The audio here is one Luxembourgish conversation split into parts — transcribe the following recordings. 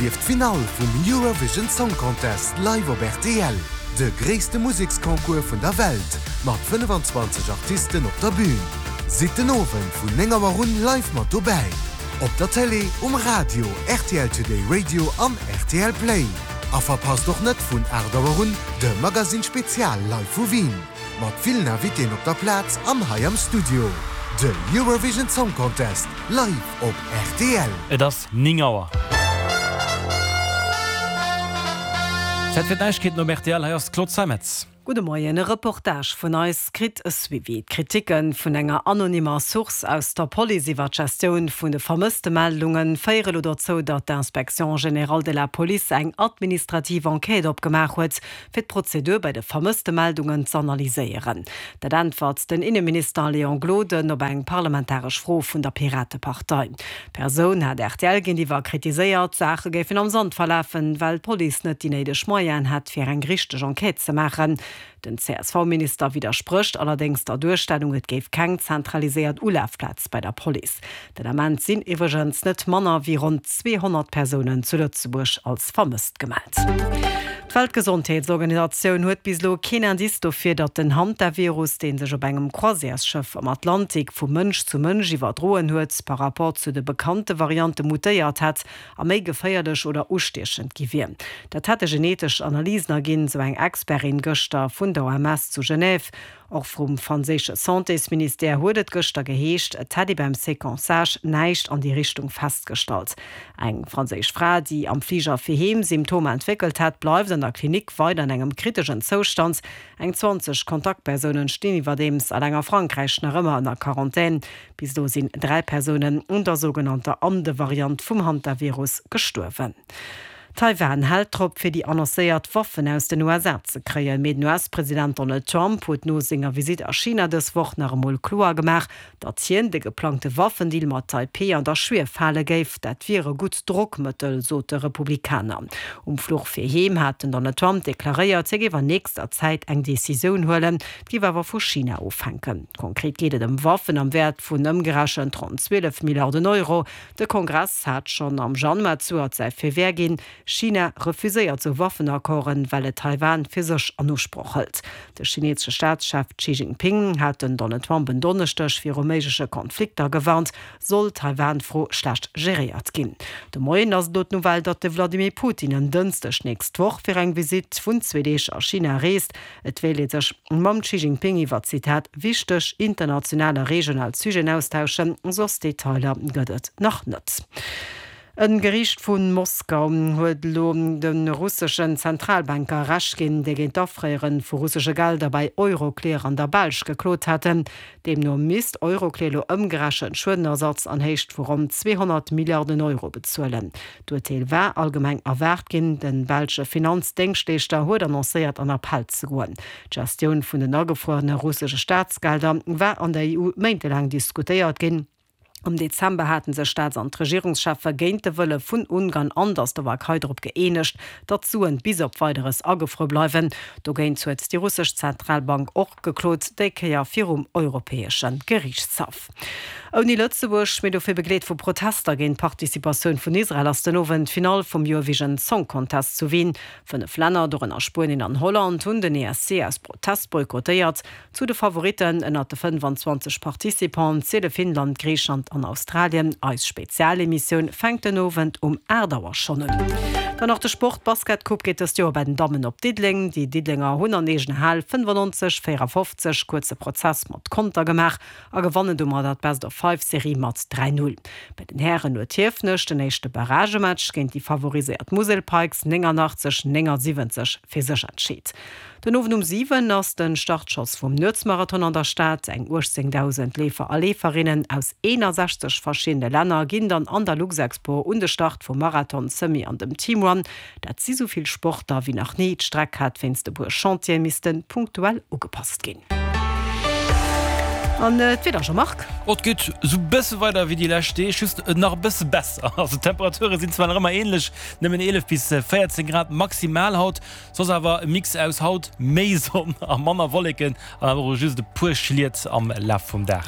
Erlieft d'Finall vum Eurovision Song Contest live op rtl, de gréisste Museksconcours vun der Welt mat 25 Artisten op der Bün. Sidd den Owend vun 9 Auer un live mat dobäi, op der Télé, um Radio, rtl Today Radio an rtl Play. A verpasst och net vun 8 Auer un de Magazine Spezial live vu Wien. Mat villen Invitéen op der Plaz an hei am Studio. De Eurovision Song Contest live op rtl. Et ass 9 Auer. Zäit fir d'Neiegkeeten op rtl. Hei ass d'Claude Zeimetz. Gudde Moien. E Reportage vun eis kritt e Suivi. D'Kriticke vun enger anonymer Source aus der Police iwwer d'Gestioun vun de Vermësstemeldunge féiere lo dozou, datt d'Inspection générale de la police eng administrativ Enquête opgemaach huet, fir d'Prozedur bei de Vermësstemeldungen z'analyséieren. Dat äntwert den Inneminister Léon Gloden op eng parlamentaresch Fro vun der Piratepartei. D'Persoun hat rtl géintiwwer kritiséiert, d'Saache géifen am Sand verlafen, well d'Police net déi néideg Moyenen hätt, fir eng richteg Enquête ze maachen. Den CSV-Minister widdersprécht allerdéngs der Duerstellung, et géif keng zentraliséiert Ulafplaz bei der Police. Den Ament sinn iwwregens net manner wéi ronn 200 Persounen zu Lëtzebuerg als vermësst gemellt. D'Weltgesondheetsorganisatioun huet bis elo keen Indice dofir, datt den Hantavirus, dee sech op engem Croisièresschëff am Atlantik vu Mënsch zu Mënsch iwwerdroen huet, par rapport zu de bekannte Variante mutéiert hätt a méi geféierlech oder ustiechend gi wier. Dat hätte genetesch Analysen erginn, sou eng Expertin gëschter vun der OMS zu Genève. Och vum franséische Santésministère huet et gëschter geheescht, et hätt ee beim Séquençage näischt an déi Richtung festgestallt. Eng franséisch Fra, déi am Fliger fir heem Symptomer entwéckelt hat, bleift an der Klinik weider an engem kriteschen Zoustand. Eng 20 Kontaktpersounen stinn iwwerdeems eleng a Frankräich nach ëmmer ënner Quarantän. Bis elo sinn 3 Persounen un der sougenannter Ande-Variant vum Hantavirus gestuerwen. Taiwan hält drop, fir déi annoncéiert Waffen aus den USA ze kréien. Mee den US-President Donald Trump huet no senger Visitt a China dës Woch nach emol kloer gemaach, datt hien de geplangte Waffendeal mat Taipeh an der Schwief hale géif. Dat wier e gutt Drockmëttel, sot de Republikaner. Um Fluch fir heem hat den Donald Trump deklaréiert, hie géif an nächster Zäit eng Decisioun huelen. Et géif awer vu China ofhänken. Konkret geet et ëm Waffen am Wäert vun ëmgerechent ronn 12 Milliarden Euro. De Kongress hat schonn am Januar zejoert säi Feu vert ginn. China refuséiert sou Waffenaccorden, well et Taiwan fir sech an Usproch hëlt. De chineesesche Staatschef Xi Jinping hat den Donald Trump en Donneschdeg viru méigleche Konflikter gewarnt, sollt d'Taiwan-Fro schlecht geréiert ginn. De Moien ass et elo d'Nouvelle, datt de Vladimir Putin en Dënschdeg nächst Woch fir eng Visitt vun zwee Deeg a China reest. Et wéilt ee sech mam Xi Jinping iwwer, Zitat, wichteg international a regional Sujeten austauschen, soss Detailer gëtt et nach net. E Geriicht vu Moskau huet elo de russeschen Zentralbanker Recht ginn, déi géint d'Afréiere vu russesche Gelder bei Euroclear an der Belsch geklot haten. Deemno misst Euroclear elo ëmgerechent Schuedenersatz an Héicht vu ronn 200 Milliarden Euro bezuelen. D'Urteel war allgemeng erwaart ginn. De belsche Finanzdéngschtleeschter huet annoncéiert an Appell ze goen. D'Gestioun vun den agefruerene russesche Staatsgelder war an der EU méintelaang diskutéiert ginn. Am Dezember hate sech Staats an d'Regierungscheffe géint de Wëlle vun Ungarn an der Slowakei drop gëeenegt, datt d'Suen bis op Weideres agefruer bleiwen. Dogéint huet déi russesch Zentralbank och geklot, déi Kéier virum Europäesche Geriichtshaff. Ouni Lëtzebuerg, mee dofir begleet vu Protester géint d'Participatioun vun Israel, ass den Owend d'Finall vum Eurovision Song Contest zu Wien. 5 Länner, dorënner Spuenien an Holland, hunn den ESC aus Protest boykottéiert. Zu de Favoritten ënnert de 25 Participanten ziele Finnland, Griichland an Australien. Eis Spezialemissioun fänkt den Owend um 8 Auer schonn un. Dann nach de Sport, D'Basketcoupe geet dëst Joer bei den Dammen op Diddeleng. Déi Diddelenger hunn an eegener Hal 95, 54 kuerze Prozess mat Konter gemaach. a gewannen domadder d'Best-of-Five-Serie mat 3, 0. Bei den Hären huet Hiefenech den éischte Barragematch géint déi favoriséiert Musel Pikes 89, 79 fir sech entscheet. Den Owend um 7 ass de Startschoss vum Nuetsmarathon an der Stad. Eng 18.000 Leefer a Leeferinnen aus 61 verschiddene Länner ginn dann an der Luxexpo un de Start vum Marathon, Semi an dem Teamrun. Dat si sou vill Sportler wéi nach ni. D'Streck hat wéinst e puer Chantiere misste punktuell ugepasst ginn. An d'Wieder, Jean-Marc? Oh, et geet sou bësse weider wéi déi lescht Deeg, just nach e bësse besser. Also d'Temperature sinn zwar nach ëmmer änlech, nëmmen 11 bis 14 Grad maximal haut, soss awer e Mix aus haut méi Sonn a manner Wolleken an awer och just e puer Schliet am Laf vum Dag.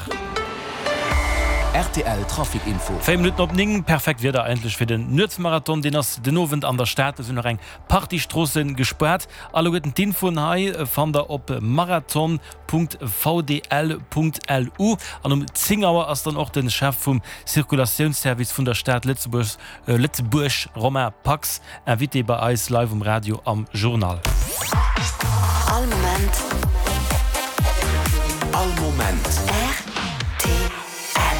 Rtl Trafic Info. 4 Minutten op 9, perfekt Wieder eigentlech fir den Nuetsmarathon. Deen ass den Owend an der Stad. Do sinn nach eng Partie Stroosse gespaart. Alleguerten d'Infoen hei fannt der op marathon.vdl.lu. An um 10 Auer ass dann och de Chef vum Circulatiounsservice vun der Stad Lëtzebuerg, Lëtzebuerg, Romain Pax, Invité bei eis live um Radio am Journal. All Moment. All Moment. Rtl.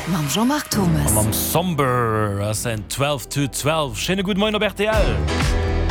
Mam Jean-Marc Thomas. A mam Somber ass en 12 to 12. Schéine gudde Moien op rtl.